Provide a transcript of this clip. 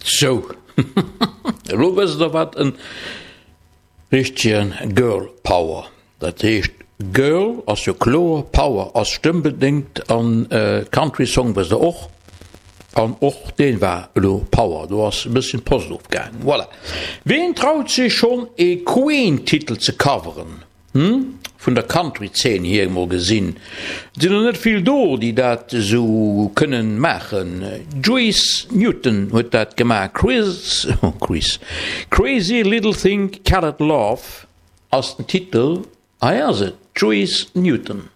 Sou, elo wësst der wat en richtegen Girl Power, dat heescht Girl ass jo kloer, Power ass stëmmbedéngt an Country Song wësst der och, an och deen war elo Power, do ass e bësschen d'Post ofgaangen. Voilà. Ween traut sech schonn ee Queen Titel ze coveren? Hm, vun der Country-Zeen hier emol gesinn, et sinn der net vill do, déi dat esou kënnen maachen. Juice Newton huet dat gemaach, Chris, oh Chris, Crazy Little Thing Called Love ass den Titel, hei ass et, Juice Newton.